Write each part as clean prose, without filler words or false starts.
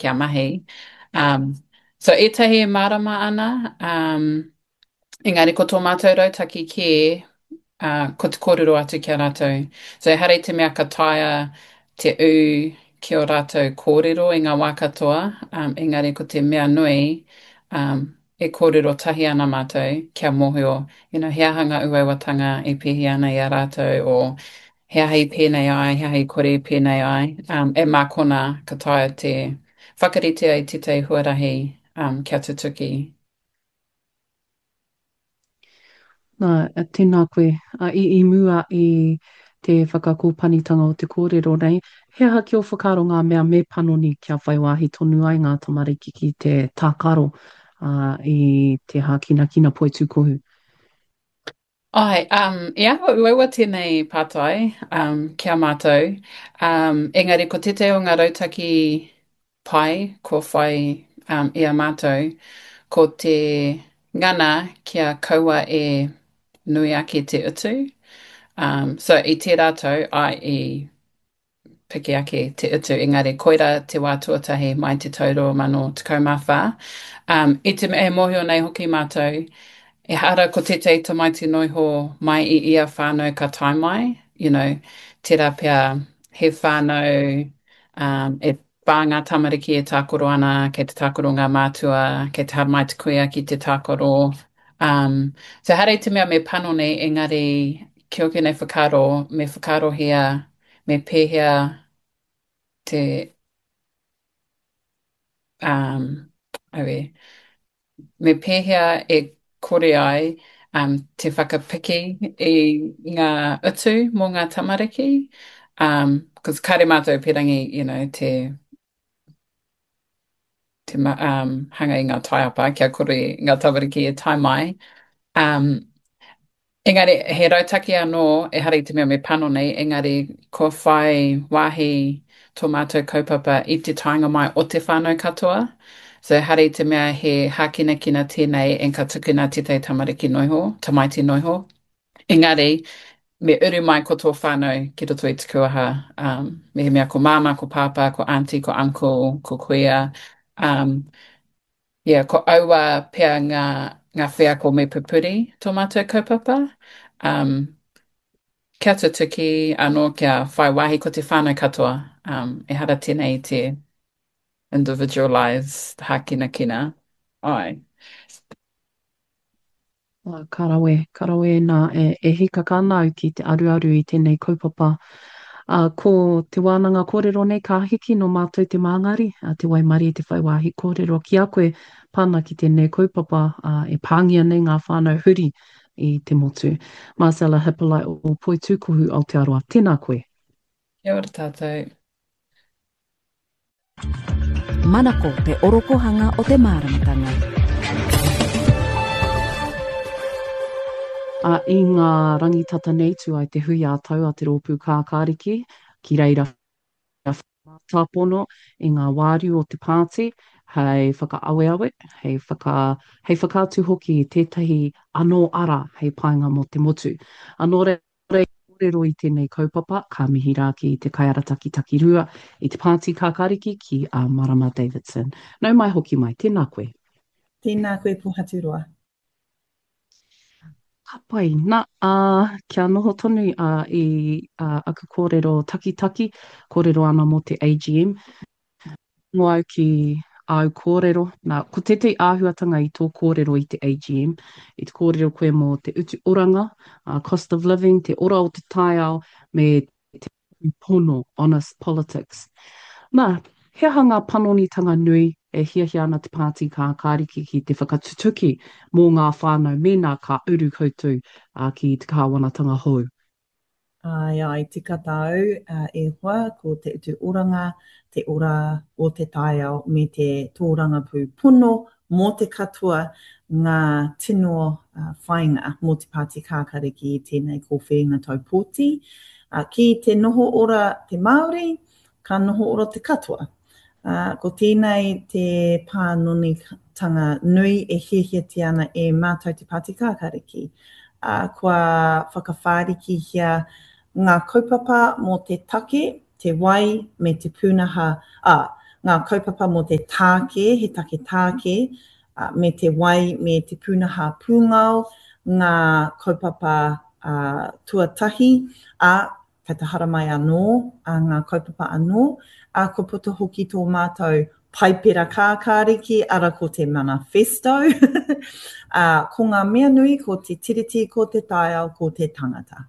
kia mahi. Um, so ētahi e mārama ana, um, engari ko tō mātou rautaki kē, uh, ko te kōrero atu ki a rātou. So ehara i te mea ka taea te ū ki ō rātou kōrero i ngā wā katoa, um, engari ko te mea nui, um, e kōrero tahi ana mātou kia mōhio, you know, he aha ngā uauatanga e pēhi ana i a rātou, o he aha i pēnei ai, he aha i kore i pēnei ai, um, e mā konā ka taea te whakaritea i tētahi huarahi um, kia tutuki. Nā, tēnā koe. I, i mua i te whakakōpanitanga o te kōrero nei, he aha ki ō whakaaro ngā mea me panoni kia whai wāhi tonu ai ngā tamariki ki te tākaro ā, i te hākinakina poitūkohu? Āe, um, i āhua uaua tēnei pātai um, ki a mātou, um, engari ko tētahi o ngā rautaki pai kua whai um, i a mātou, ko te ngana kia kaua e nui ake te utu. Um, so i tērā tau, āe, i piki ake te utu, engari koirā te wā tuatahi mai te tau 2014. Um, i te mea e mōhio nei hoki mātou, ehara ko tētahi tamaiti noiho mai i ia whānau ka tae mai, you know, tērā pea he whānau um, e whā ngā tamariki e tākaro ana, kei te tākaro ngā mātua, kei te haramai te kuia ki te tākaro. Um, so ehara i te mea me panoni, engari ki ōku nei whakaaro, me whakaarohia me pēhea te, um, auē, me pēhea e kore ai um, te whakapiki i ngā utu mō ngā tamariki, um, cause kāre mātou pērangi, you know, te, te um, hanga i ngā taiapa kia kore ngā tamariki e tae mai. Um, engari, he rautaki anō, ehara i te mea me panoni, engari kua whai wāhi tō mātou kaupapa i te taenga mai o te whānau katoa. So ehara i te mea he hākinakina tēnei and ka tukuna tētahi tamariki noiho, tamaiti noiho. Engari, me uru mai ko tō whānau ki roto i te kuaha, um, mehemea ko māmā, ko pāpā, ko auntie, ko uncle, ko kuia, um, yeah, ko aua pea ngā, ngā wheako me pupuri tō mātou kaupapa. Um, kia tutuki anō kia whai wāhi ko te whānau katoa. Um, ehara tēnei i te individualised hākinakina. Ai. Ka rawe, ka rawe nā, e, e hīkaka ana au ki te aruaru i tēnei kaupapa. Ā, ko te wānanga kōrero nei ka hiki nō mātou te māngari, a te waimarie te whai wāhi kōrero ki a koe pā ana ki tēnei kaupapa, ā, e pāngia nei ngā whānau huri i te motu. Marcella Hippolite o Poitūkohu Aotearoa, tēnā koe. Kia ora tātou. Manako te orokohanga o te māramatanga. Ā, i ngā rangi tata nei tū ai te hui ā-tau a Te Rōpū Kākāriki, ki reira mātāpono i ngā wāriu o te pāti hei whakaaweawe, hei whaka, hei whakaatu hoki i tētahi anō ara hei painga mō te motu. Ā, nō reira, Kōrero i tēnei kaupapa, ka mihi rā ki te kaiarataki takirua i te Pāti Kākāriki ki a Marama Davidson. Nau mai hoki mai, tēnā koe. Tēnā koe Pohaturoa. Ka pai. Na, ā, kia noho tonu ā, i ā, aku kōrero takitaki, kōrero ana mō te AGM. Rongo au ki āu kōrero. Nā, ko tētahi āhuatanga i tō kōrero i te AGM, i te kōrero koe mō te utu oranga, uh, cost of living, te ora o te taiao, me te pono, honest politics. Nā, he aha ngā panonitanga nui e hiahia ana te Pāti Kākāriki ki te whakatutuki mō ngā whānau mēnā ka uru koutou uh, ki te kāwanatanga hou? Āe, āe, tika tāu, e hoa, ko te utu oranga, te ora o te taiao me te tōrangapū pono mō te katoa ngā tino whāinga mō te Pāti Kākariki i tēnei kōwhiringa tau pōti. Ki te noho ora te Māori, ka noho ora te katoa. Ā, ko tēnei te pānonitanga nui e hiahiatia ana e mātou te Pāti Kākāriki. Ā, kua whakawhārikihia ngā kaupapa mō te take, te wai me te pūnaha, ā, ngā kaupapa mō te tāke, he take tāke, me te wai me te pūnaha pūngao, ngā kaupapa tuatahi, ā, kei te haramai anō ngā kaupapa anō, ā, kua puta hoki tō mātou Paipera Kākāriki, ara ko te manifesto, ā, ko ngā mea nui ko te Tiriti, ko te taiao, ko te tangata.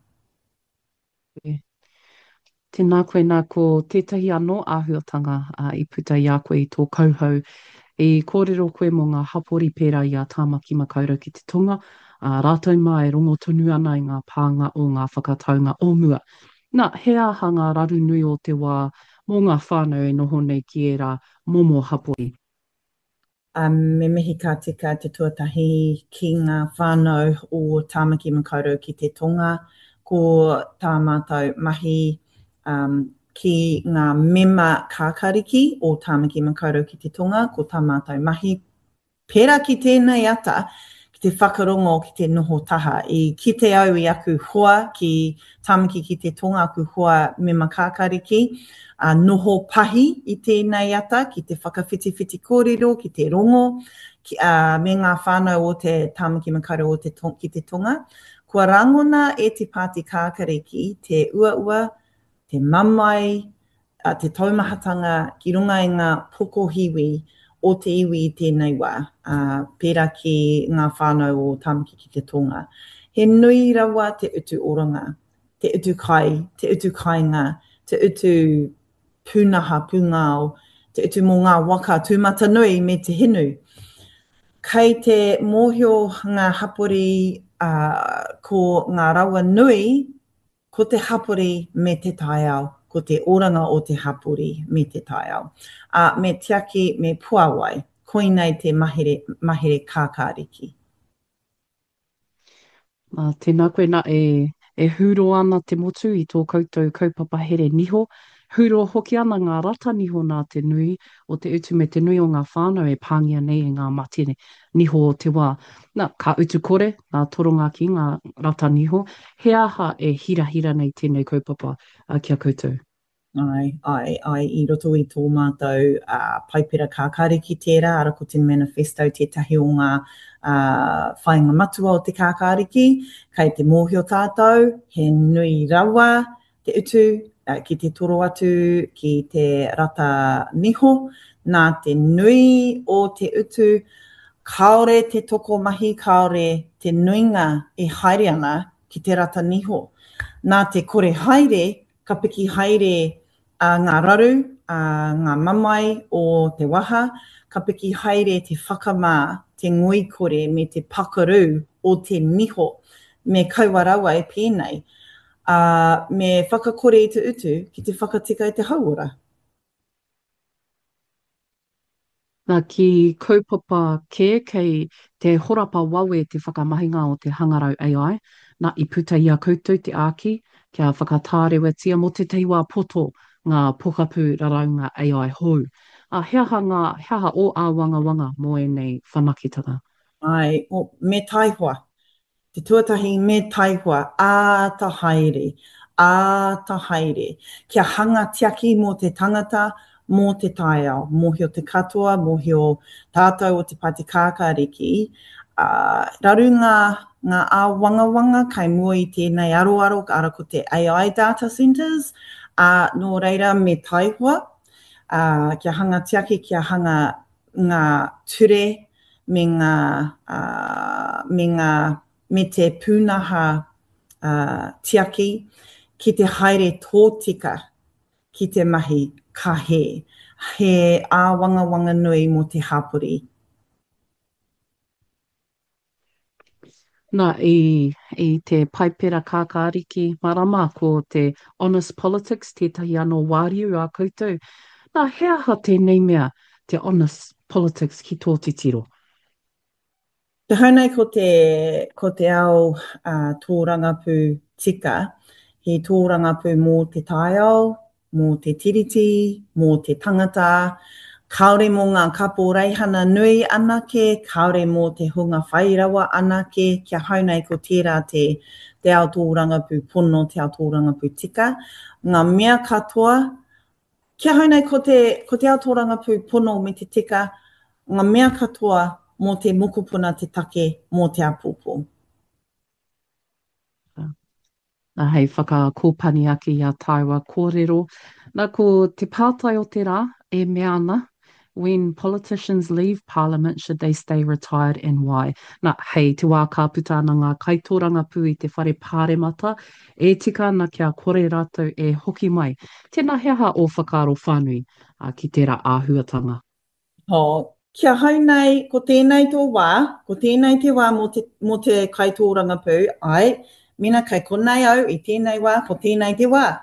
Tēnā koe, nā, ko tētahi anō āhuatanga i puta i a koe i tō kauhau, i kōrero koe mō ngā hapori pērā i a Tāmaki Makaurau ki te Tonga, ā, rātou mā e rongo tonu ana i ngā pānga o ngā whakataunga o mua. Nā, he aha ngā raru nui o te wā mō ngā whānau e noho nei ki ērā momo hapori? Me mihi ka tika te tuatahi ki ngā whānau o Tāmaki Makaurau ki te Tonga. Ko tā mātou mahi ki ngā mema kākariki o Tāmaki Makaurau ki te Tonga, ko tā mātou mahi Pērā ki tēnei ata, ki te whakarongo, ki te noho taha. I kite au i aku hoa ki Tāmaki ki te Tonga, aku hoa mema kākāriki, ā, noho pahi i tēnei ata ki te whakawhitiwhiti kōrero, ki te rongo, ki, ā, me ngā whānau o te Tāmaki Makaurau o te ki te Tonga. Kua rangona e te Pāti Kākariki te uaua, te mamae, te taumahatanga ki runga i ngā pokohiwi o te iwi i tēnei wā, ā, pērā ki ngā whānau o Tāmaki ki te Tonga. He nui rawa te utu oranga, te utu kai, te utu kāinga, te utu pūnaha pūngao, te utu mō ngā waka tūmatanui me te hinu. Kei te mōhio ngā hapori, ā, ko ngā rawa nui Ko te hapori me te taiao, ko te oranga o te hapori me te taiao. Ā, me tiaki, me puāwai. Koinei te mahere, mahere kākāriki. Ā, tēnā koe nā, e, e hūro ana te motu i tō koutou kaupapa here niho, hūro hoki ana ngā rata niho nā te nui o te utu me te nui o ngā whānau e pāngia nei e ngā mate niho o te wā. Na, ka utu kore ngā toronga ki ngā rata niho. He aha e hirahira nei tēnei kaupapa ki a koutou? Āe, āe, āe, i roto i tō mātou Paipera Kākāriki tērā, ara ko te manifesto tētahi o ngā whāinga matua o te Kākāriki. Kei te mōhio tātou, he nui rawa te utu ki te toro atu ki te rata niho, nā te nui o te utu, kāore te tokomahi, kāore te nuinga e haere ana ki te rata niho. Nā te kore haere, ka piki haere ngā raru, ngā mamae o te waha, ka piki haere te whakamā, te ngoikore me te pakaru o te niho. Me kaua rawa e pēnei. Ā, me whakakore i te utu ki te whakatika i te hauora. Nā, ki kaupapa kē kei te horapa wawe te whakamahinga o te hangarau AI, nā, i puta i a koutou te āki kia whakatārewatia mō tētahi wā poto ngā pokapū raraunga AI hou. Ā, he aha ngā, he aha ō āwangawanga mō ēnei whanaketanga? Āe, me taihoa. Te tuatahi me taihoa, āta haere, āta haere, kia hanga tiaki mō te tangata, mō te taiao. Mōhio te katoa, mōhio tātou o Te Pāti Kākāriki, ā, raru ngā, ngā āwangawanga kai mua i tēnei aroaro, ara ko te AI data centres, ā, nō reira me taihoa, ā, kia hanga tiaki, kia hanga ngā ture me ngā, me ngā, me te pūnaha tiaki ki te haere tōtika ki te mahi ka hē. He āwangawanga nui mō te hapori. Nā, i, i te Paipera Kākāriki marama ko te Honest Politics tētahi anō wāriu a koutou. Nā, he aha tēnei mea te Honest Politics ki tō titiro? Te hau nei ko te, ko te ao tōrangapū tika, he tōrangapū mō te taiao, mō te Tiriti, mō te tangata, kāore mō ngā kaporeihana nui anake, kāore mō te hunga whai rawa anake, kia hau nei ko tērā te, te ao tōrangapū pono, te ao tōrangapū tika. Ngā mea katoa, Ki ahau nei ko te, ko te ao tōrangapū pono me te tika ngā mea katoa mō te mokopuna te take mō te āpōpō. Nā, hei whakakōpani ake i a tāua kōrero, nā, ko te pātai o te rā e mea ana, When politicians leave parliament should they stay retired and why? Nā, hei te wā ka puta ana ngā kaitōrangapū i te whare pāremata, e tika ana kia kore rātou e hoki mai. Tēnā he aha ō whakaaro whānui ki tērā āhuatanga? Oh, ki ahau nei, ko tēnei tō wā, ko tēnei te wā mō te, mō te kaitōrangapū, āe, mēnā kei konei au i tēnei wā, ko tēnei te wā.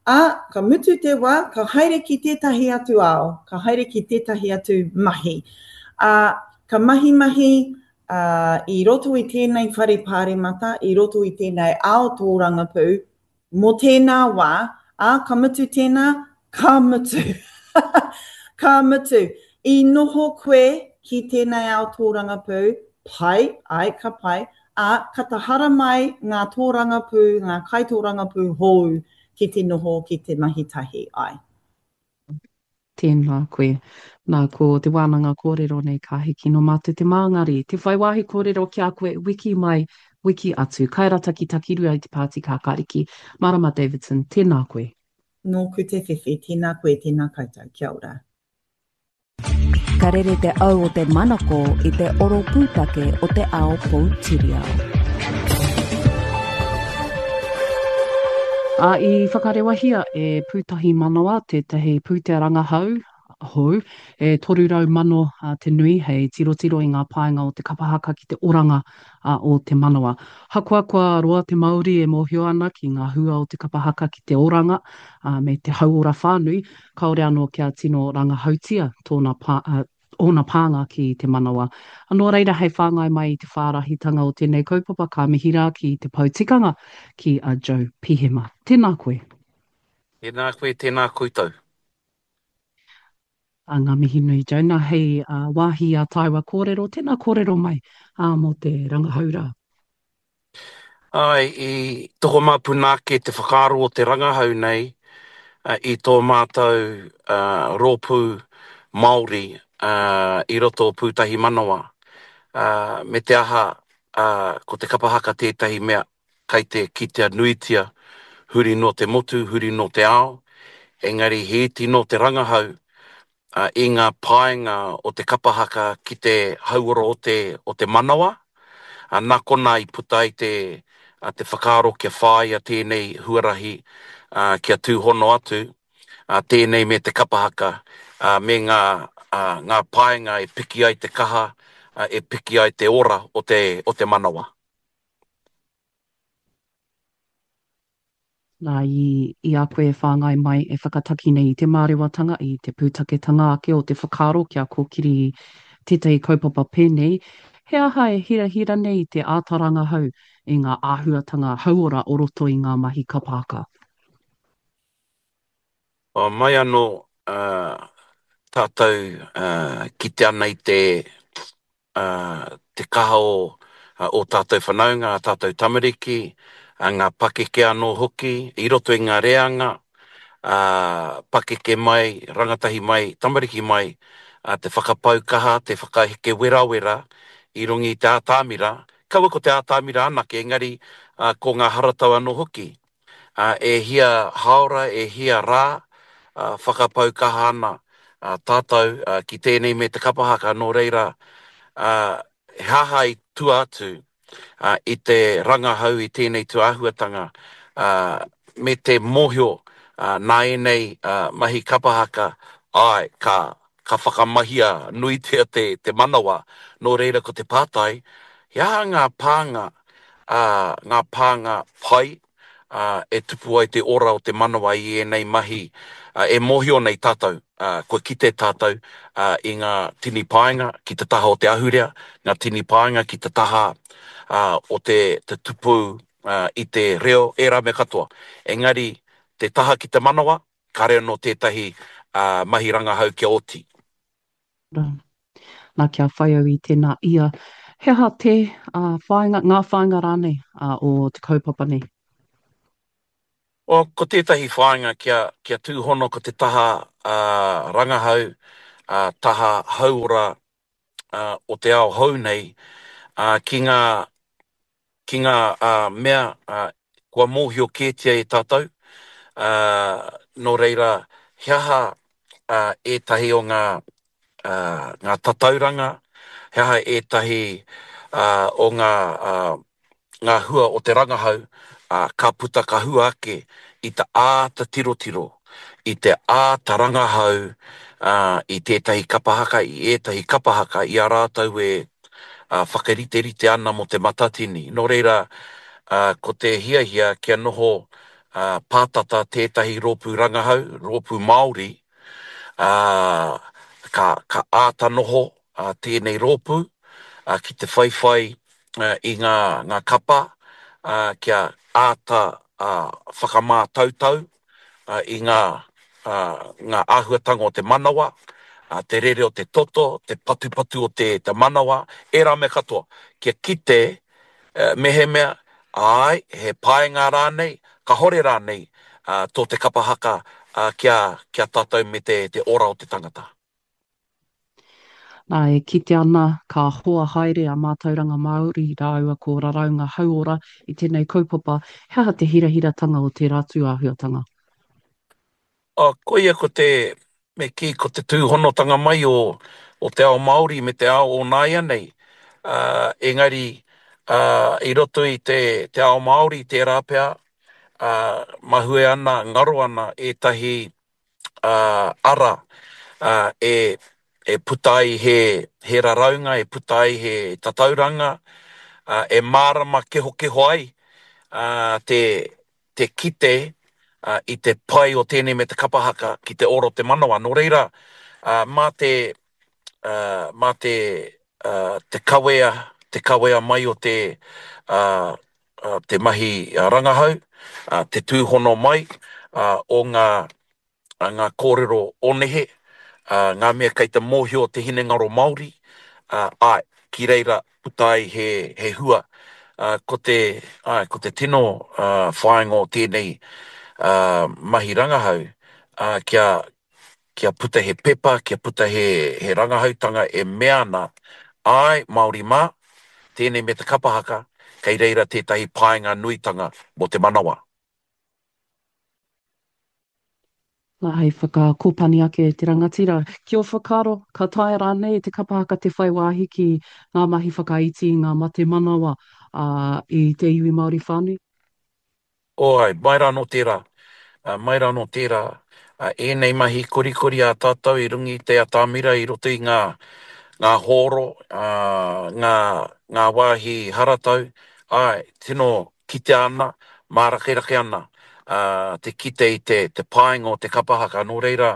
Ā, ka mutu te wā, ka haere ki tētahi atu ao, ka haere ki tētahi atu mahi. Ā, ka mahimahi, ā, i roto i tēnei whare pāremata, i roto i tēnei ao tōrangapū, Mō tēnā wā, ā, ka mutu tēnā, ka mutu. Ka mutu. I noho koe ki tēnei ao tōrangapū, pai, āe, ka pai, ā, ka ta haramai ngā tōrangapū, ngā kaitōrangapū hōu ki te noho, ki te mahi tahi, āe. Tēnā koe. Nā, ko te wānanga kōrero nei ka hiki nō mātou te māngari, te whai wāhi kōrero ki a koe wiki mai, wiki atu. Kairataki Takirua i te Pāti Kākāriki, Marama Davidson, tēnā koe. Nōku te whiwhi, tēnā koe, tēnā koutou. Kia ora. Ka rere te au o te manako i te oro pūtake o te ao poutiriao. Ā, i whakarewahia e Pūtahi Manawa tētahi pūtea rangahau hou e 300,000 te nui hei tirotiro i ngā painga o te kapa haka ki te oranga o te manawa. Hakoa kua roa te Māori e mōhio ana ki ngā hua o te kapa haka ki te oranga me te hauora whānui, kāore anō kia tino rangahautia tōna ōna pānga ki te manawa. Nō reira, hei whāngai mai i te whārahitanga o tēnei kaupapa, ka mihi rā ki te pou tikanga, ki a Joe Pihema. Tēnā koe. Tēnā koe, tēnā koutou. A ngā mihi nui, Joe. Nā, hei wāhi i a tāua kōrero, tēnā kōrero mai mō te rangahau rā. Āe, i tokomāpuna ake te whakaaro o te rangahau nei i tō mātou rōpū Māori i roto o Pūtahi Manawa. Me te aha, ko te kapa haka tētahi mea kai te kitea nuitia huri nō te motu, huri nō te ao, engari he iti nō te rangahau i ngā painga o te kapa haka ki te hauora o te, o te manawa, nā konā i puta ai te, te whakaaro kia whāia tēnei huarahi kia tūhono atu tēnei me te kapa haka me ngā, ngā painga e piki ai te kaha, e piki ai te ora o te, o te manawa. Nā, i, i a koe e whāngai mai, e whakataki nei i te mārewatanga, i te pūtaketanga ake o te whakaaro kia kōkiri tētahi kaupapa pēnei, he aha e hirahira nei te āta rangahau i ngā āhuatanga hauora o roto i ngā mahi kapa haka? Mai anō tātou kite ana i te te kaha o ō tātou whanaunga, ā tātou tamariki, ngā pakeke anō hoki i roto i ngā reanga, ā, pakeke mai, rangatahi mai, tamariki mai, te whakapau kaha, te whakaheke werawera i runga i te ātamira, kaua ko te ātamira anake, engari ko ngā haratau anō hoki. E hia haora, e hia rā, whakapau kaha ana tātou ki tēnei me te kapa haka, nō reira, he aha i tua atu i te rangahau i tēnei tūāhuatanga me te mōhio nā ēnei mahi kapa haka, āe, ka ka whakamahia nuitia te te manawa, nō reira ko te pātai, he aha ngā pānga, ā, ngā pānga pai, ā, e tupu ai te ora o te manawa i ēnei mahi, ā, e mōhio nei tātou, ā, kua kite tātou, ā, i ngā tini painga ki te taha o te ahurea, ngā tini painga ki te taha, ā, o te, te tupu, ā, i te reo, ērā mea katoa. Engari, te taha ki te manawa, Kāre anō tētahi mahi rangahau kia oti. Nā, kia whai au i tēnā ia. He aha te whāinga, ngā whāinga rānei o te kaupapa nei? Well, ko tētahi whāinga kia, kia tūhono ko te taha rangahau, taha hauora o te ao hou nei ki ngā ki ngā mea kua mōhio kētia e tātou, nō reira he aha ētahi o ngā ngā tatauranga, he aha ētahi o ngā ngā hua o te rangahau, ā, ka puta ka hua ake i te āta tirotiro, i te āta rangahau ā, i tētahi kapa haka, i ētahi kapa haka i a rātou e ā, whakariterite ana mō Te Matatini. Nō reira, ā, ko te hiahia kia noho ā, pātata tētahi rōpū rangahau, rōpū Māori, ā, ka, ka āta noho ā, tēnei rōpū ā, ki te whaiwhai i ngā, ngā kapa, ā, kia āta ā, whakamātautau ā, i ngā, ā, ngā āhuatanga o te manawa, ā, te rere o te toto, te patupatu o te, te manawa, ērā mea katoa, kia kite mehemea, āe, he painga rānei, kahore rānei ā, tō te kapa haka ā, kia, kia tātou me te, te ora o te tangata. Nā, e kite ana ka hoa haere a Mātauranga Māori rāua ko Raraunga Hauora i tēnei kaupapa, he aha te hirahiratanga o tērā tūāhuatanga? Ā, koia ko te, me kī, ko te tūhonotanga mai o, o te ao Māori me te ao o nāianei. Ā, engari, ā, i roto i te, te ao Māori tērā pea, ā, mahue ana, ngaro ana ētahi ara e e puta ai he he raraunga, e puta ai he tatauranga, e mārama kehokeho ai te te kite i te pai o tēnei me te kapa haka ki te ora o te manawa. Nō reira, mā te mā te te kawea, te kawea mai o te te mahi rangahau, te tūhono mai o ngā, ngā kōrero o nehe, ngā mea kei te mōhio te hinengaro Māori, āe, ki reira puta ai he, he hua. Ko te, āe, ko te tino whāinga o tēnei mahi rangahau, kia, kia puta he pepa, kia puta he, he rangahautanga e mea ana, āe, Māori mā, tēnei me te kapa haka, kei reira tētahi painga nuitanga mō te manawa. Nā, hei whakakōpani ake te rangatira, ki ō whakaaro, ka taea rānei e te kapa haka te whai wāhi ki ngā mahi whakaiti i ngā mate manawa, ā, i te iwi Māori whānui? Oh ai, mai rā anō tērā, mai rā anō tērā, ēnei mahi korikori a tātou i runga i te atamira i roto i ngā, ngā hōro, ngā, ngā wāhi haratau, āe, tino kitea ana, mārakerake ana te kite i te, te painga o te kapa haka, nō reira,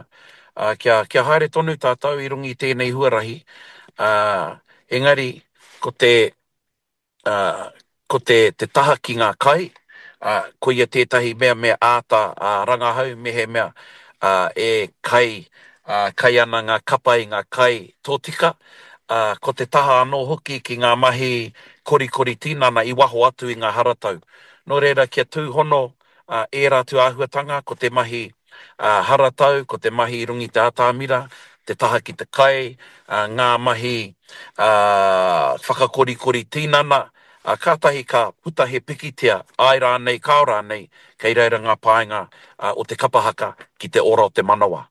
kia, kia haere tonu tātou i runga i tēnei huarahi, engari, ko te, ā, ko te, te taha ki ngā kai, ā, koia tētahi mea me āta ā, rangahau mehemea ā, e kai, ā, kai ana ngā kapa i ngā kai tōtika, ā, ko te taha anō hoki ki ngā mahi korikori tinana i waho atu i ngā haratau. Nō reira, kia tūhono ā, ērā atu āhuatanga, ko te mahi ā, haratau, ko te mahi i runga i te atamira, te taha ki te kai, ā, ngā mahi ā, whakakorikori tinana, ā, kātahi ka puta he pikitia, āe rānei, kāo rānei, kei reira ngā painga ā, o te kapa haka ki te ora o te manawa.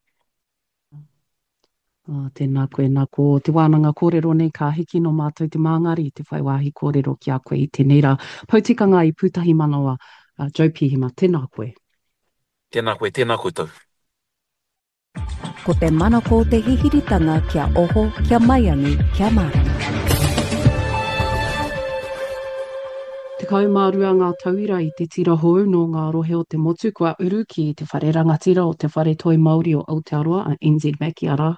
Oh, tēnā koe, nā ko te wānanga kōrero nei ka hiki nō mātou te māngari te whai wāhi kōrero ki a koe i tēnei rā. Pou tikanga i Pūtahi Manawa, uh, Joe Pihima, tēnā koe. Tēnā koe, tēnā koutou. Ko te manako te hihiritanga kia oho, kia maiangi, kia mārama. 12 ngā tauira i te tira hou nō ngā rohe o te motu kua uru ki te whare rangatira o Te Whare Toi Māori o Aotearoa, a NZ Mackie, arā,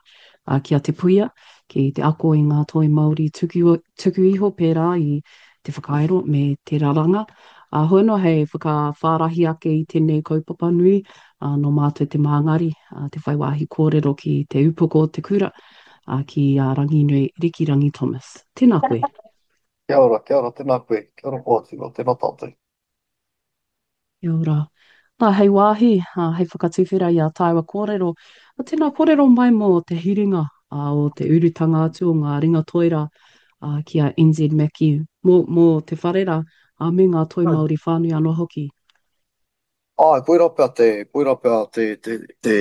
ki a Te Puia, ki te ako i ngā toi Māori tuku, tuku iho pērā i te whakairo me te raranga. Ā, hoi anō hei whakawhārahi ake i tēnei kaupapa nui, ā, nō mātou te māngari, ā, te whai wāhi kōrero ki te upoko o te kura, ā, ki a Ranginui Rikirangi Thomas. Tēnā koe. Kia ora, kia ora, tēnā koe. Kia ora Poatino, tēnā tātou. Kia ora. Nā, hei wāhi, ā, hei whakatuwhera i ā tāua kōrero, ā, tēnā kōrero mai mō te hiringa, ā, o te urutanga atu o ngā ringa toi rā, ā, ki a NZ Mackie, mō, mō te whare rā, ā, me ngā toi Māori whānui anō hoki. Āe, koirā pea te, koirā pea te, te, te,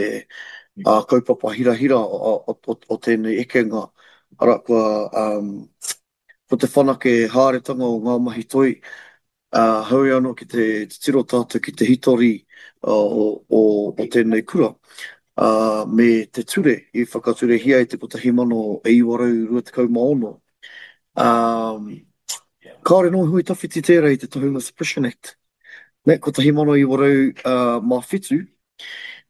ā, kaupapa hirahira o, o, o, o tēnei ekenga, arā, kua, um, ko te whanake haeretanga o ngā mahi toi, ā, heoi anō ki te titiro tātou ki te hitori o, o, o tēnei kura, ā, me te ture i whakaturehia i te 1926, ā, kāore nō hui tawhiti tērā i te Tohunga Suppression Act, nē, 1907,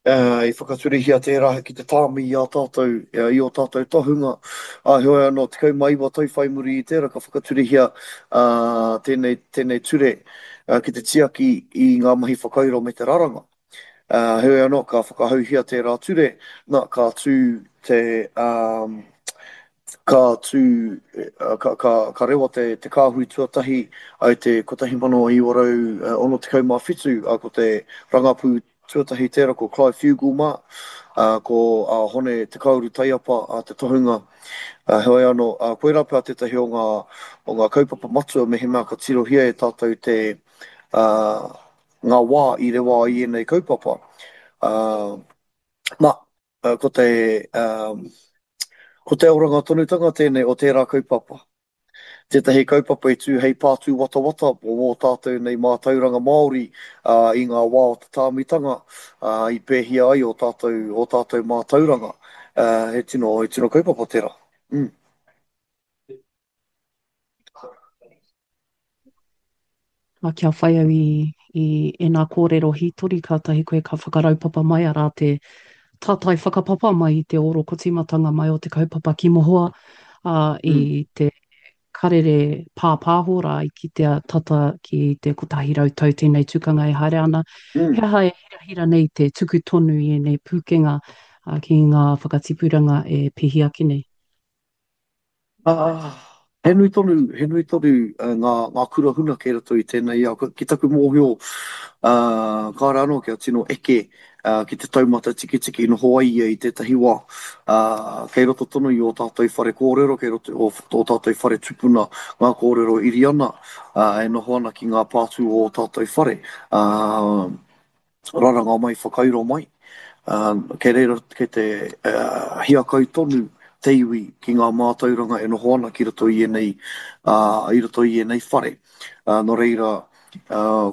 I whakaturehia tērā ki te tāmi i ā tātou, i ō tātou tohunga, ā, heoi anō, 19 tau whai muri i tērā ka whakaturehia tēnei, tēnei ture ki te tiaki i ngā mahi whakairo me te raranga. Heoi anō, ka whakahauhia tērā ture, nā, ka tū te, Ka tū, ka, ka, ka rewa te, te kāhui tuatahi i te 1967, ā, ko te rangapū tuatahi tērā ko Clive Fugill mā, ā, ko Hone Te Kauru Taiapa te tohunga. Heoi anō, koirā pea tētahi o ngā, o ngā kaupapa matua mehemea ka tirohia e tātou te, ā, ngā wā i rewa ai ēnei kaupapa. Ā, nā, Ko te, ko te oranga tonutanga tēnei o tērā kaupapa. Tētahi kaupapa i tū hei pā tūwatawata mō wō tātou nei mātauranga Māori i ngā wā o te tāmitanga, i pēhia ai ō tātou, ō tātou mātauranga. He tino, he tino kaupapa tērā. Mm. Ā, kia whai au i, i ēnā kōrero hītori, kātahi koe ka whakaraupapa mai, arā te tātai whakapapa mai i te ōrokotīmatanga mai o te kaupapa ki mohoa, ā, i mm. te karere pāpāho rā i kitea tata ki te 100 tau tēnei tukanga e haere ana. Mm. He aha e hirahira nei te tuku tonu i ēnei pūkenga ā, ki ngā whakatipuranga e pihi ake nei? Ā, he nui tonu, he nui tonu ngā, ngā kura huna kei roto i tēnei ao. Ki taku mōhio, ā, kāore anō kia tino eke ki te taumata tiketike i noho ai ia i tētahi wā. Ā, kei roto tonu i ō tātou whare kōrero, kei roto i ō tātou whare tupuna ngā kōrero iri ana, ā, e noho ana ki ngā pātū o ō tātou whare. Ā, raranga mai, whakairo mai, kei reira, kei te hiakai tonu te iwi ki ngā mātauranga e noho ana ki roto i ēnei, i roto i ēnei whare. Nō reira,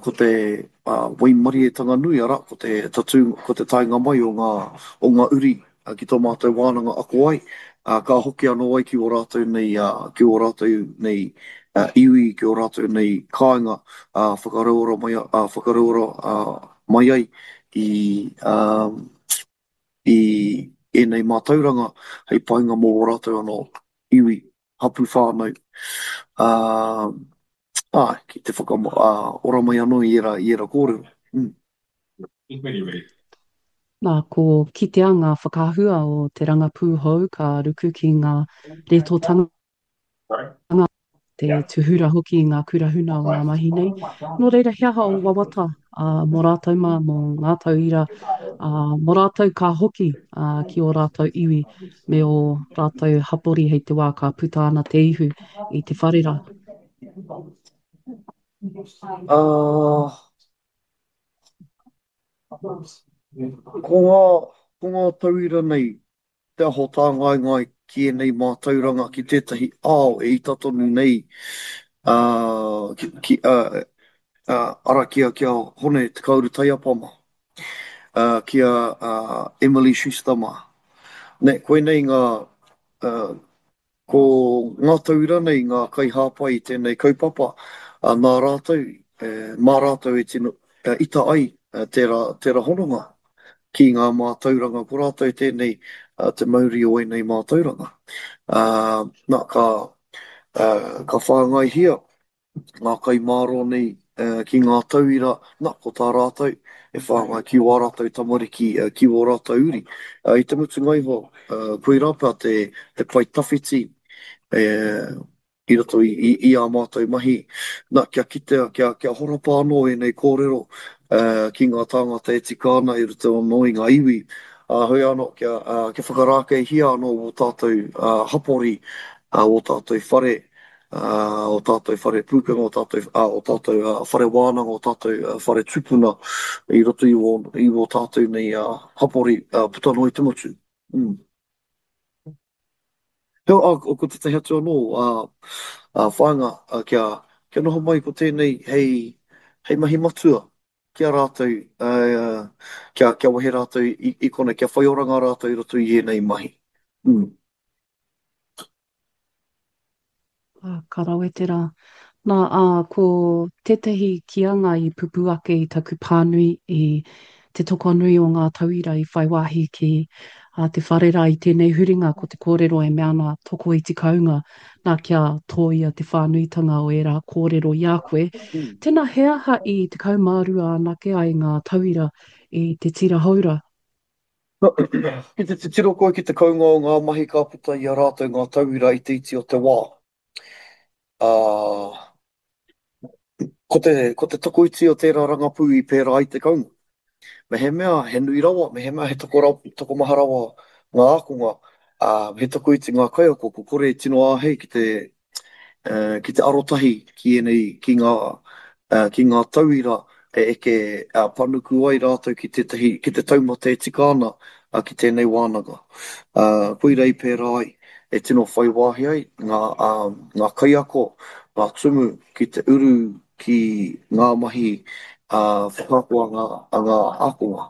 ko te waimarietanga nui, arā, ko te tatū, ko te taenga mai o ngā, o ngā uri ki tō mātou wānanga ako ai, ka hoki anō ai ki ō rātou nei, ki ō rātou nei iwi, ki ō rātou nei kāinga, whakarauora mai, whakarauora mai ai i, i ēnei mātauranga hei painga mō ō rātou anō iwi, hapū whānau, āe, ki te whakaora mai anō i ērā, i ērā kōrero. Mm. Nā, ko kitea ngā whakaahua o te rangapū hou ka ruku ki ngā rētōtanga, te tūhura hoki i ngā kura huna o ngā mahi nei. Nō reira, he aha ō wawata mō rātou mā, mō ngā tauira, mō rātou ka hoki ki ō rātou iwi me ō rātou hapori hei te wā ka puta ana te ihu i te whare rā? Ko ngā, ko ngā tauira nei te aho tāngaengae ki ēnei mātauranga ki tētahi ao e ita tonu nei, ā, ki, ki, ā, ā, ara ki a, ki a Hone Te Kauru Taiapa mā, ā, ki a, ā, Emily Schuster mā. Nē, koinei ngā, ā, Ko ngā tauira nei ngā kaihāpai i tēnei kaupapa, ā, nā rātou, mā rātou e tino ita ai tērā, tērā hononga ki ngā mātauranga, ko rātou tēnei te mauri o ēnei mātauranga. Ā, nā, ka, ka whāngaihia ngā kai mārō nei ki ngā tauira, na, ko tā rātou, e whāngai ki wā rātou tamariki, ki wō rātou uri. I te mutunga iho, koirā pea te, te pae tawhiti i roto i, i, i ā mātou mahi, na, kia kitea, kia, kia horapa anō ēnei kōrero, ki ngā tāngata e tika ana i roto anō i ngā iwi, ā, heoi anō kia, kia whakarākeihia anō wō tātou hapori, wō tātou whare, ō tātou whare pūkenga, ō tātou, ā, ō tātou whare wānanga, ō tātou whare tupuna i roto i wō, i wō tātou nei hapori puta noa i te motu. Mm. Heoi, ā, ko tētahi atu anō, ā, ā, whāinga, ā, kia, kia noho mai ko tēnei hei, hei mahi matua ki a rātou, ā, kia, kia wehe rātou i, i konei, kia whai oranga rātou i roto i ēnei mahi. Mm. Ā, ka rawe te rā. Nā, ā, ko tētahi kīanga i pupū ake i taku pānui i te tokonui o ngā tauira i whai wāhi ki ā, te whare rā i tēnei huringa ko te kōrero e mea ana tokoiti kounga, nā kia tōia te whānuitanga o ērā kōrero i a koe. Tēnā, he aha i 12 anake ai ngā tauira i te tira houra? Ki te titiro koe ki te kounga o ngā mahi ka puta i a rātou ngā tauira i te iti o te wā, ā, ko te, ko te tokoiti o tērā rangapū i pērā ai te kounga. Mehemea he nui rawa, mehemea he toko, tokomaha rawa ngā ākonga, ā, he tokoiti ngā kaiako, kua kore e tino āhei ki te ki te arotahi ki ēnei, ki ngā, ki ngā tauira e eke panuku ai rātou ki tētahi, ki te taumata e tika ana ki tēnei wānanga. Koira i pērā ai, e tino whai wāhi ai ngā, ngā kaiako, ngā tumu ki te uru ki ngā mahi whakaako a ngā, a ngā ākonga.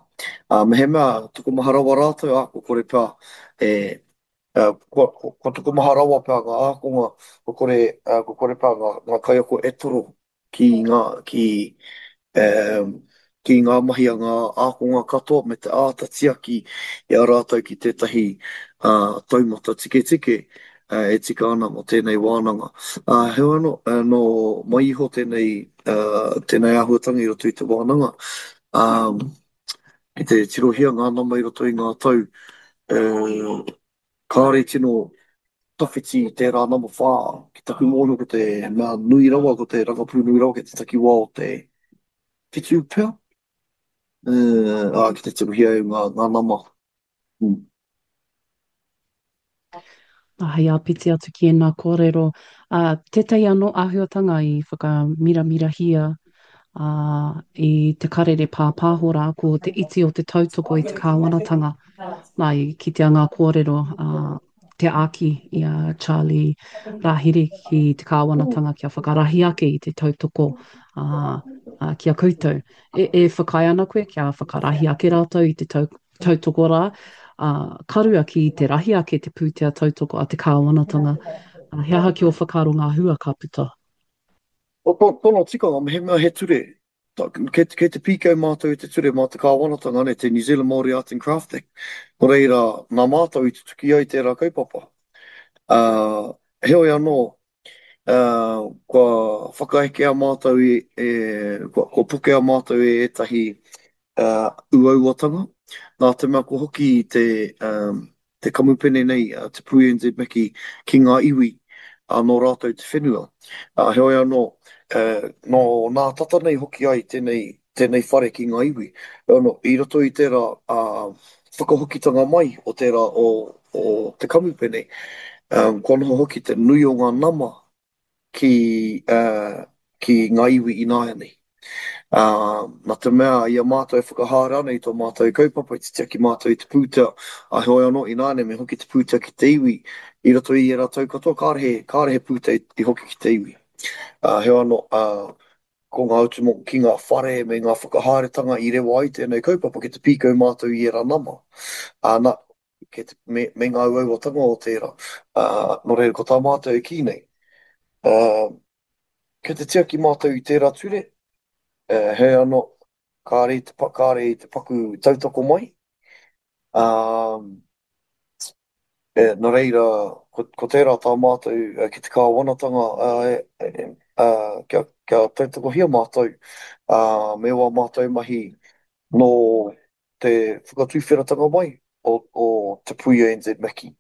Mehemea tokomaha rawa rātou, ā, kua kore pea e, Kua, kua tokomaha rawa pea ngā ākonga, kua kore, kua kore pea ngā, ngā kaiako e toro ki ngā, ki, ki ngā mahi a ngā ākonga katoa me te āta tiaki i a rātou ki tētahi taumata tiketike e tika ana mō tēnei wānanga. Heoi anō, nō mai iho tēnei, tēnei āhuatanga i roto i te wānanga, Ki te tirohia ngā nama i roto i ngā tau, kāore i tino tawhiti tērā nama whā. Ki taku mōhio ko te mea nui rawa, ko te rangapū nui rawa kei te takiwā o te whitu pea, ā, ki te tirohia e ngā, ngā nama. Nā, hei āpiti atu ki ēnā kōrero, ā, tētahi anō āhuatanga i whakamiramirahia, ā, i te karere pāpāho rā, ko te iti o te tautoko i te kāwanatanga. Nā, i kitea ngā kōrero, ā, te āki i a Charlie Rāhiri ki te kāwanatanga kia whakarahi ake i te tautoko, ā, ā, ki a koutou. E, e whakaae ana koe kia whakarahi ake rātou i te tau, tautoko rā, ā, ka rua ki te rahi ake te pūtea tautoko a te kāwanatanga. Ā, he aha ki ō whakaaro ngā hua ka puta? Ko tōna tikanga, mehemea he ture, kei, kei te pīkau mātou i te ture mā te kāwanatanga, nē, te New Zealand Māori Arts and Craft Act. Nō reira, nā mātou i tutuki ai tērā kaupapa. Ā, heoi anō, ā, kua whakaekea mātou i, e, kua, kua pokea mātou e ētahi uauatanga, nā te mea kua hoki te, te kamupene nei, te Pū NZ Maki, ki ngā iwi nō rātou te whenua. Heoi anō, nō nā tata nei hoki ai tēnei, tēnei whare ki ngā iwi. Heoi anō, i roto i tērā whakahokitanga mai o tērā o, o te kamupene, kua noho hoki te nui o ngā nama ki, ki ngā iwi ināianei. Ā, nā te mea i a mātou e whakahaere ana i tō mātou kaupapa, i te tiaki mātou i te pūtea, ā, heoi anō, ināianei me hoki te pūtea ki te iwi, i roto i ērā tau katoa, kāre he, kāre he pūtea i hoki ki te iwi. Ā, heoi anō, ā, ko ngā utu mō, ki ngā whare me ngā whakahaeretanga i rewa ai tēnei kaupapa ki te pīkau mātou i ērā nama. Ā, nā, kei te, me, me ngā uauatanga o tērā. Ā, nō reira, ko tā mātou e kī nei, ā, kei te tiaki mātou i tērā ture, ā, heoi anō, kāre i te, kāre i te paku tautoko mai, ā, e, nō reira, ko, ko tērā tā mātou ki te kāwanatanga, ā, e, ā, kia, kia tautokohia mātou, ā, me wā mātou mahi nō te whakatuwheratanga mai o, o Te Puia NZ Maki.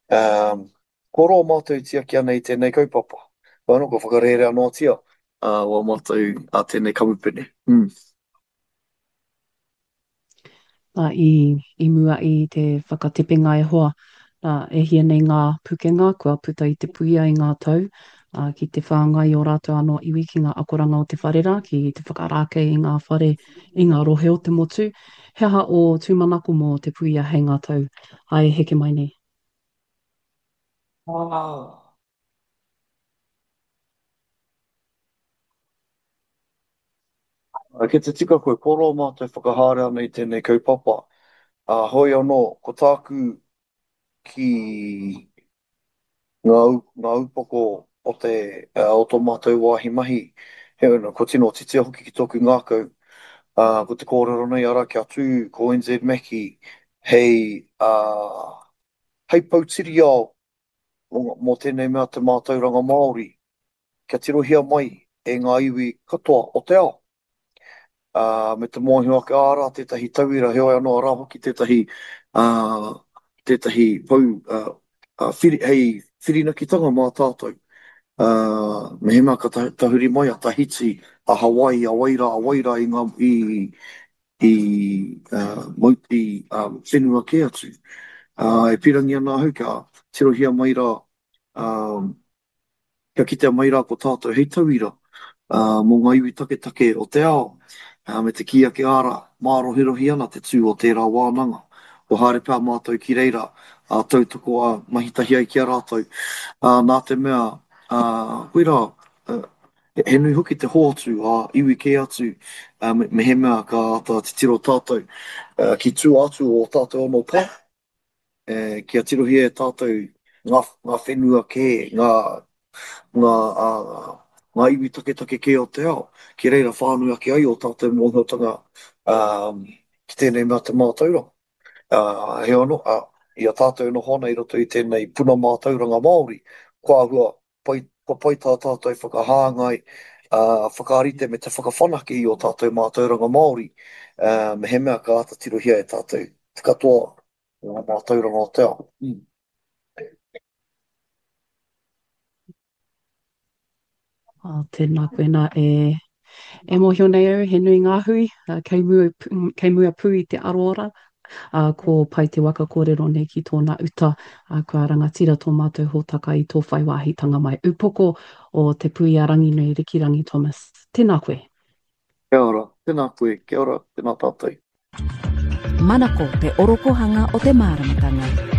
Um, kua roa mātou e tiaki ana i tēnei kaupapa. Wā anō, kua whakarērea noatia uh, wā mātou a tēnei kamupene. Mm. Nā, i, i mua i te whakatepenga e hoa, nā, e hia nei ngā pukenga kua puta i te puia i ngā tau, ā, ki te whāngai i ō rātou anō iwi ki ngā akoranga o te whare rā, ki te whakarākei i ngā whare i ngā rohe o te motu. He aha ō tūmanako mō te puia hei ngā tau e heke mai nei? Ah. Kei te tika koe, kua roa mātou e whakahaere ana i tēnei kaupapa. Ā, hoi anō, ko tāku ki ngā, ngā upoko o te, o tō mātou wāhi mahi, heoi anō, kua tino titia hoki ki tōku ngākau, ā, ko te kōrero nei, arā, kia tū ko NZ Mackie hei, ā, hei poutiriao mō tēnei mea te mātauranga Māori, kia tirohia mai e ngā iwi katoa o te ao, ā, me te mōhio ake, arā tētahi tauira, heoi anō, arā hoki tētahi, ā, tētahi pou, ā, ā, whiri, hei whirinakitanga mā tātou. Ā, mehemea ka tahuri mai a Tahiti, a Hawaii, a wai rā, a wai rā i ngā, i, i, ā, mau, i, ā, whenua kē atu. Ā, e pīrangi ana ahau kia tirohia mai rā, ā, Kia kitea mai rā ko tātou hei tauira mō ngā iwi taketake o te ao, me te kī ake ārā, mārohirohi ana te tū o tērā wānanga. Kua haere pea mātou ki reira, ā, tautoko, ā, mahi tahi ai ki a rātou. Nā te mea, koirā, he nui hoki te hoatu ā iwi kē atu, mehemea ka āta titiro tātou ki tua atu o ō tātou anō pā. Kia tirohia e tātou ngā, ngā whenua kē, ngā, ngā, ā, ngā iwi taketake kē o te ao, ki reira whānui ake ai ō tātou mōhiotanga, ā, ki tēnei mea te mātauranga. Ā, heoi anō, ā, i a tātou e noho ana i roto i tēnei puna mātauranga Māori, kua āhua pai, kua pai tā tātou whakahāngai, ā, whakarite me te whakawhanake i ō tātou mātauranga Māori, ā, mehemea ka āta tirohia e tātou te katoa o ngā mātauranga o te ao. Mm. Oh, tēnā koe nā e E mōhio nei au he nui ngā hui kei mua, kei mua pū i te aroara, ā, ko Pai te waka kōrero nei ki tōna uta, ā, kua rangatira tō mātou hōtaka i tō whai wāhitanga mai. Upoko o Te Puia Ranginui Rikirangi Thomas. Tēnā koe. Kia ora, tēnā koe, kia ora, tēnā tātou. Manako te orokohanga o te māramatanga.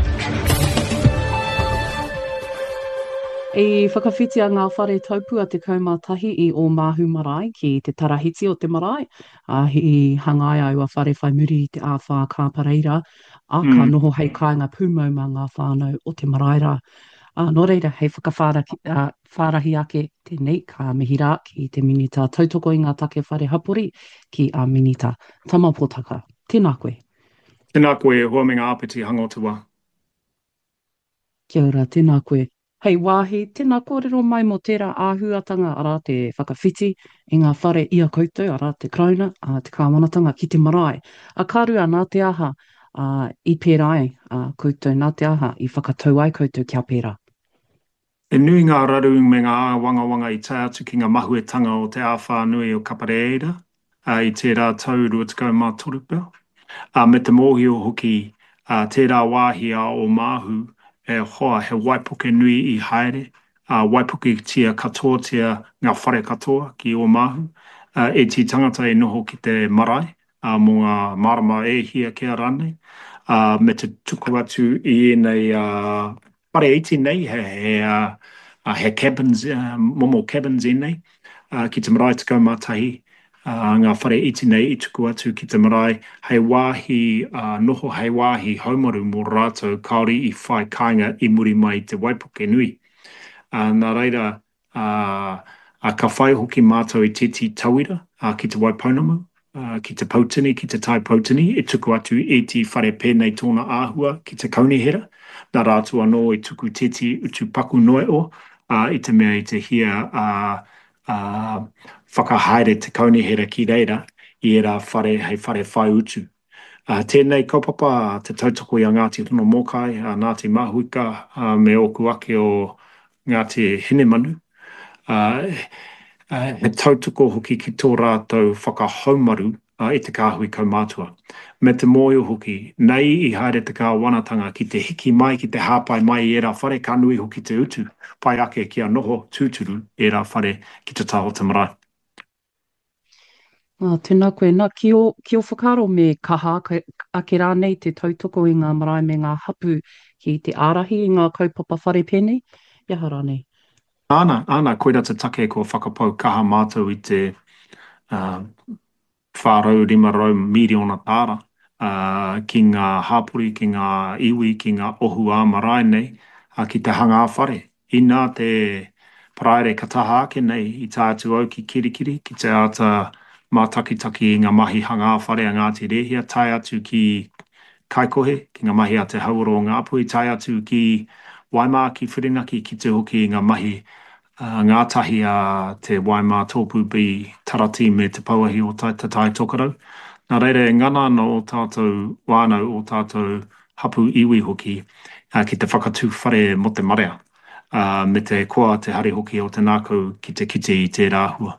I whakawhitia ngā whare taupua 11 i Ōmāhu Marae ki te tarahiti o te marae, ā, i hangaia aua whare whai muri i te āwhā kāpareira, ā, ka noho hei kāinga pūmau mā ngā whānau o te marae rā. Ā, nō reira, hei whakawhārahi ake tēnei, ka mihi rā ki te Minita Tautoko i ngā Take Whare Hapori, ki a Minita Tama Potaka. Tēnā koe. Tēnā koe e hoa me ngā āpiti hanga o te wā. Kia ora, tēnā koe. Hei wāhi, tēnā kōrero mai mō tērā āhuatanga, arā te whakawhiti i ngā whare i a koutou, arā te Karauna, ā, te Kāwanatanga ki te marae. A ka rua, nā te aha, ā, i pērā ai, ā, koutou, nā te aha i whakatau ai koutou kia pērā? He nui ngā raru me ngā āwangawanga i tae atu ki ngā mahuetanga o te āwhā nui o Kapareira i tērā tau 23 pea, ā, me te mōhio hoki tērā wāhi a Ōmāhu e hoa he waipuke nui i haere, ā, waipuketia katoatia ngā whare katoa ki Ōmāhu, ēti tangata i noho ki te marae, ā, mō ngā marama e hia kē rānei, ā, me te tuku atu i ēnei whare iti nei, he, he, ā, he cabins, momo cabins ēnei, ā, ki te marae 11, ā, ngā whare iti nei i tuku atu ki te marae hei wāhi ā, noho, hei wāhi haumaru mō rātou kāore i whai kāinga i muri mai i te waipuke nui. Ā, nā reira, ā, ā, ka whai hoki mātou i tētehi tauira, ā, ki Te Waipounamu, ā, ki Te Poutini, ki Te Tai Poutini, e tuku atu ētehi whare pēnei tōna āhua ki te kaunihera, nā rātou anō i tuku tētehi utu paku noa iho, ā, i te mea i te hia, ā, ā, whakahaere te kaunihera ki reira i ērā whare hei whare whai utu. Ā, tēnei kaupapa te tautoko i a Ngāti Honomōkai, a Ngāti Mahuika, ā, me ōku ake o Ngāti Hinemanu, ā, he tautoko hoki ki tō rātou whakahaumaru i te kāhui kaumātua. Me te mōhio hoki, nei i haere te kāwanatanga ki te hiki mai, ki te hāpai mai i ērā whare, ka nui hoki te utu, pai ake kia noho tūturu ērā whare ki te taha o te marae. Ā, tēnā koe. Nā, ki ō, ki ō whakaaro me kaha ake, ake rānei te tautoko i ngā marae me ngā hapū ki te ārahi i ngā kaupapa whare pēnei, i aha rānei? Āna, āna, koirā te take kua whakapau kaha mātou i te, ā, 400, 500 mīriona tāra, ā, ki ngā hapori, ki ngā iwi, ki ngā ohu ā-marae nei, ā, ki te hanga whare. Inā te Paraire ka taha ake nei i tae atu au ki Kirikiri ki te āta mātakitaki i ngā mahi hangā whare a Ngāti Rēhia, tae atu ki Kaikohe, ki ngā mahi a Te Hauora o Ngāpuhi, tae atu ki Waimā, ki Whirinaki, kite hoki i ngā mahi ngātahi a te Waimā Tōpū B Taratī me Te Pouahi o Te Tai Tokerau. Nā reira e ngana ana ō tātou whānau, ō tātou hapū iwi hoki, ki te whakatū whare mō te marea, me te koa, te hari hoki o te ngākau ki te kite i tērā āhua.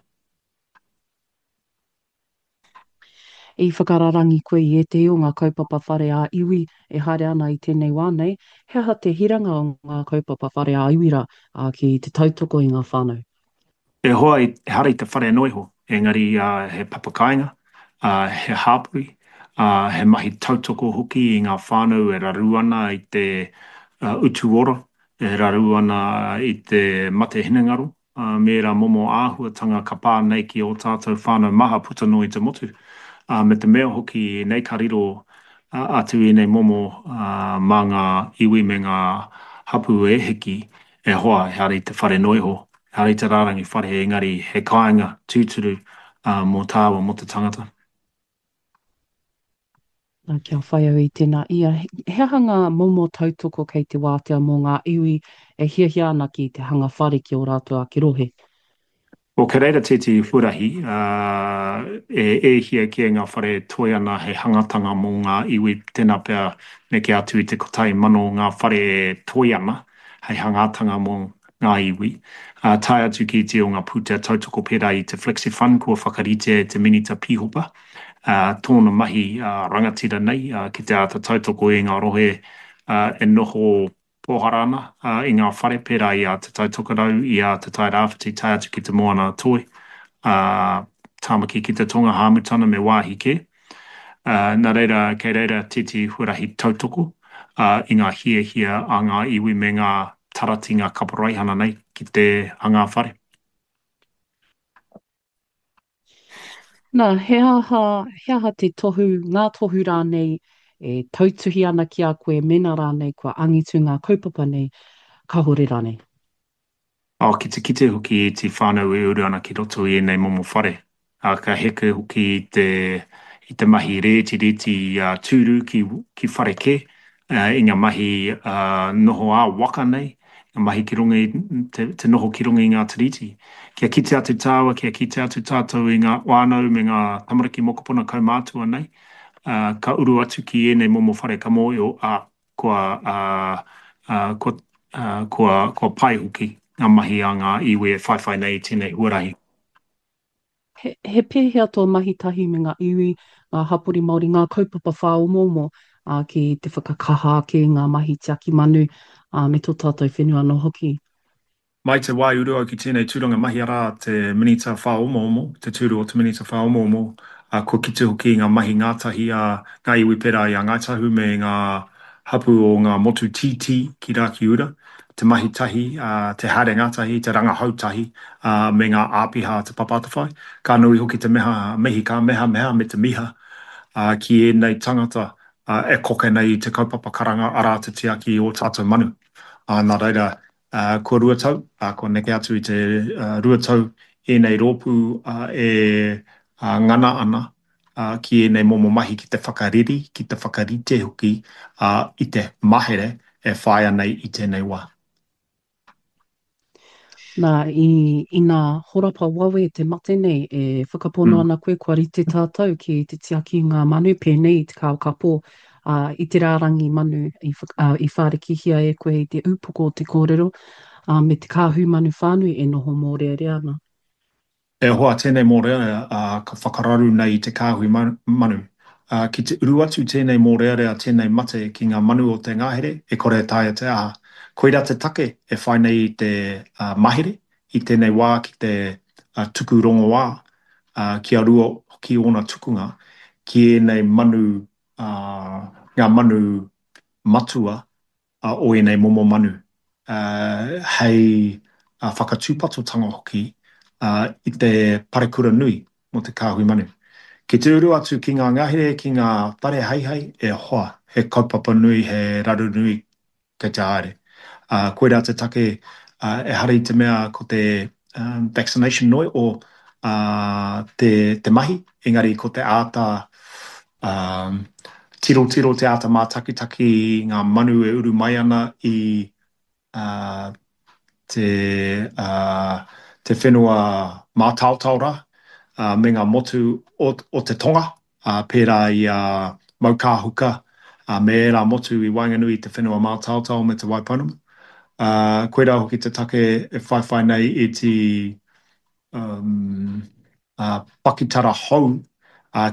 I whakararangi koe i ētehi o ngā kaupapa whare ā-iwi e haere ana i tēnei wā nei, he aha te hiranga o ngā kaupapa whare ā-iwi rā, ā, ki te tautoko i ngā whānau? E hoa, ehara i te whare noa iho, engari he papakāinga, he hāpori, he mahi tautoko hoki i ngā whānau e raru ana i te utu ora, e raru ana i te mate hinengaro, me ērā momo āhuatanga ka pā nei ki ō tātou whānau maha puta noa i te motu, ā, me te mea hoki nei ka riro atu ēnei momo mā ngā iwi me ngā hapū e hiki, e hoa, ehara i te whare noa iho, ehara i te rārangi whare, engari he kāinga tūturu mō tāua, mō te tangata. Nā, kia whai au i tēnā ia, he aha ngā momo tautoko kei te wātea mō ngā iwi e hiahia ana ki te hanga whare ki ō rātou ake rohe? Well, kei reira tētehi huarahi, ā, e e hia kē ngā whare e toe ana hei hangatanga mō ngā iwi, tēnā pea neke atu i te 1,000 ngā whare e toe ana hei hangatanga mō ngā iwi, ā, tae atu ki iti o ngā pūtea tautoko pērā i te Flexifund kua whakaritea e te Minita Pīhopa, ā, tōna mahi rangatira nei ki te āta tautoko i ngā rohe e noho pōhara ana i ngā whare pērā i a Te Tai Tokerau, i a Te Tai Rāwhiti tae atu ki Te Moana-a-Toi, ā, Tāmaki ki te Tonga, Hāmutana me wāhi kē. Nā reira, kei reira tētehi huarahi tautoko i ngā hiahia a ngā iwi me ngā tarati, ngā kaporeihana nei ki te hangā whare. Nā, he aha, he aha te tohu, ngā tohu rānei e tautuhi ana ki a koe mēnā rānei kua angitu ngā kaupapa nei, kāhore rānei? Oh, ki te kite hoki i te whānau e uru ana ki roto i ēnei momo whare. Ā, ka heke hoki i te, i te mahi rētireti ā tūru ki, ki whare kē, ā, i ngā mahi ā, noho ā-waka nei, ngā mahi ki runga i, te, te noho ki runga i ngā tiriti. Kia kite atu tāua, kia kite atu tātou i ngā whānau me ngā tamariki mokopuna kaumātua nei, ā, ka uru atu ki ēnei momo whare ka mōhio, ā, kua, kua, kua, kua pai hoki ngā mahi a ngā iwi e whaiwhai nei i tēnei huarahi. He, he pēhea tō mahi tahi me ngā iwi, ngā hapori Māori, ngā kaupapa whāomoomo ā, ki te whakakaha ake i ngā mahi tiaki manu, ā, me tō tātou whenua anō hoki? Mai te wā i uru au ki tēnei tūranga mahi arā te Minita Whāomoomo, te tūru o te Minita Whāomoomo, ā, kua kite hoki i ngā mahi ngātahi a ngā iwi pērā i a Ngāi Tahu me ngā hapū o ngā motu tītī ki Rakiura, te mahi tahi, ā, te haere ngātahi, te rangahau tahi, ā, me ngā āpiha a Te Papa Atawhai. Ka nui hoki te meha, mihi ka mehameha me te miha, ā, ki ēnei tangata, ā, e koke nei i te kaupapa karanga arā te tiaki i ō tātou manu. Ā, nā reira, Ā, kua tau, ā, kua neke atu i te tau ēnei rōpū e ngana ana ki ēnei momo mahi ki te whakareri, ki te whakarite hoki i te mahere e whāia nei i tēnei wā. Nā, i, ina horapa wawe te mate nei, e whakapono ana koe kua rite tātou ki te tiaki i ngā manu pēnei i te kākapo ā, i te rārangi manu i, ā, i whārikihia e koe i te upoko o te kōrero, ā, me te kāhui manu whānui e noho mōrearea ana. E hoa, tēnei mōrearea ka whakararu nei i te kāhui manu. Ki te uru atu tēnei mōrearea, tēnei mate ki ngā manu o te ngahere, e kore e taea te aha. Koirā te take e whai nei i te mahere i tēnei wā ki te tuku rongoā kia rua hoki ōna tukunga ki ēnei manu, ngā manu matua o ēnei momo manu, hei whakatūpatotanga hoki i te parekura nui mō te kāhui manu. Ki te uru atu ki ngā ngahere, ki ngā whare heihei, e hoa, he kaupapa nui, he raru nui kei te haere. Koirā te take, ehara i te mea ko te vaccination noi o te mahi, engari ko te āta tirotiro, te āta mātakitaki i ngā manu e uru mai ana i te te whenua mātaotao rā, me ngā motu o te tonga, pērā i a Maukāhuka, me ērā motu i waenganui i te whenua mātaotao me Te Waipounamu. Koirā hoki te take e whaiwhai nei i te pakitara hou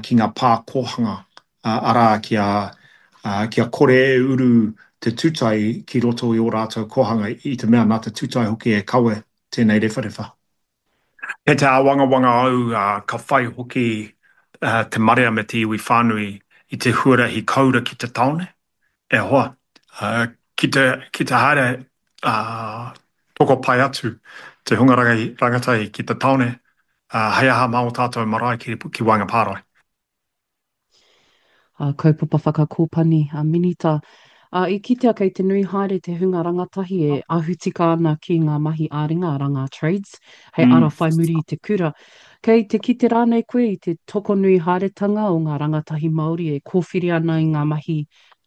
ki ngā pā kōhanga, arā, kia, kia kore e uru te tūtai ki roto i ō rātou kōhanga, i te mea nā te tūtai hoki e kawe tēnei rewharewha. Kei te āwangawanga au ka whai hoki te marea me te iwi whānui i te huarahi koura ki te tāone. E hoa, ki te, ki te haere tokopae atu te hunga rangatahi ki te tāone, hei aha mā ō tātou marae ki, ki waenga pārae. A kaupapa whakakōpani a Minita. A, i kitea kei te nui haere te hunga rangatahi e ahu tika ana ki ngā mahi ā-ringa, arā ngā trades, hei ara whai muri i te kura. Kei te kite rānei koe i te tokonui haeretanga o ngā rangatahi Māori e kōwhiri ana i ngā mahi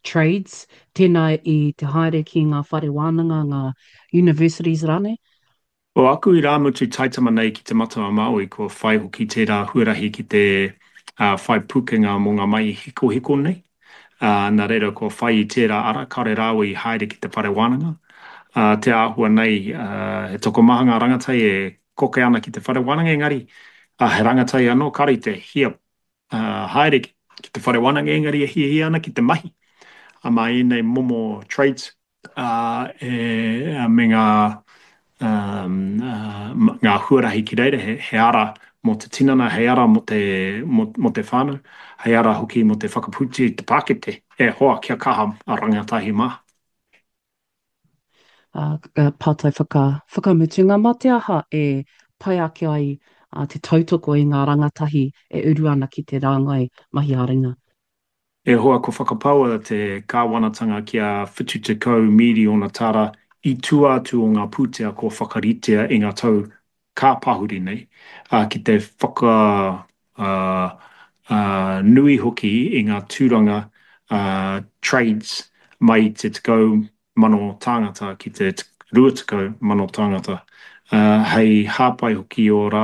trades, tēnā i te haere ki ngā whare wānanga, ngā universities rānei? Ko aku irāmutu taitama nei ki Te Matau-a-Māui kua whai hoki tērā huarahi ki te whai pūkenga mō ngā mahi hikohiko nei, nā reira kua whai i tērā ara, kāore rāua i haere ki te whare wānanga. Te āhua nei, he tokomaha ngā rangatahi e koke ana ki te whare wānanga engari he rangatahi anō kāore i te hia haere ki te whare wānanga engari e hiahia ana ki te mahi mā ēnei momo trades. ā, e, me ngā, ngā huarahi ki reira, he, he ara mō te tinana, hei ara mō te, mō, mō te whānau, hei ara hoki mō te whakapūti i te pākete, e hoa, kia kaha a rangatahi mā. Ā, pātai whaka, whakamutunga, mā te aha e pai ake ai te tautoko i ngā rangatahi e uru ana ki te rāngai mahi ā-ringa? E hoa, kua whakapaua te kāwanatanga kia 70 mīriona tāra i tua atu o ngā pūtea kua whakaritea i ngā tau ka pahuri nei, ā, ki te whakanui hoki i ngā tūranga trades mai i te 10,000 tāngata ki te 20,000 tāngata, hei hāpai hoki i ō rātou.